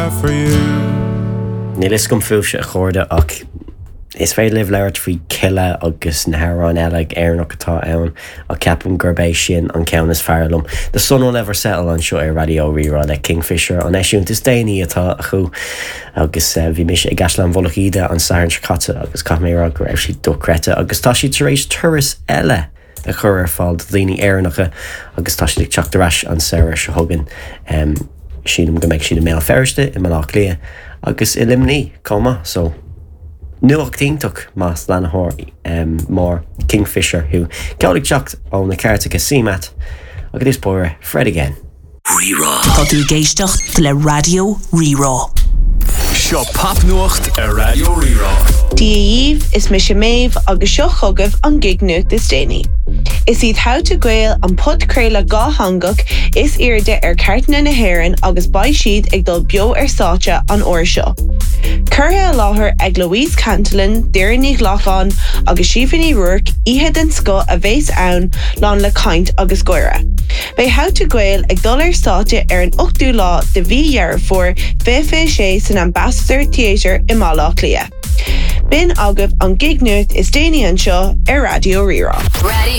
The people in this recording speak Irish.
have for you. Níl fhios agam fúibhse a chairde ach is féidir libh labhairt faoi Kila agus na hamhráin eile Éireannach atá ann ach ceapaim gurb é sin an ceann is fearr liom. The Sun Will Never Settle anseo ar Raidió Rí-Rá le Kingfisher, an eisiúint is déanaí atá acu agus bhí mise i gCaisleán Mhullach Íde an Satharn seo caite agus caithfidh mé a rá go raibh siad dochreidte agus tá siad tar éis turas eile a chur ar fáil do dhaoine Éireannacha agus tá siad ag teacht ar ais an samhradh seo chugainn. Sílim go mbeidh siad i mBéal Feirste, i mBaile Átha Cliath agus i Luimnigh chomh maith so nuacht iontach más leanthóir mór Kingfisher thú. Ceol ag teacht ó na cairteacha CMAT agus is bóire Fred again. Rí-Rá. Tá tú ag éisteacht le Raidió Rí-Rá. Seo popnuacht ar Raidió Rí-Rá. Dia dhaoibh, is mise Méabh agus seo chugaibh an gig-nuacht is déanaí. Is iad How to Gael an podchraoladh dhátheangach is airde ar chairteanna na hÉireann agus beidh siad ag dul beo ar stáitse an uair seo. Curtha i láthair ag Louise Cantillon, Doireann Ní Ghlacáin agus Síofra Ní Ruairc, oíche den scoth a bheas ann, lán le caint agus gáire. Beidh How to Gael ag dul ar stáitse ar an 8ú lá de mhí Dheireadh Fómhair 2026 san Ambassador Theatre i mBaile Átha Cliath. B'in agaibh an gig-nuacht is déanaí anseo ar Raidió Rí-Rá. Raidió.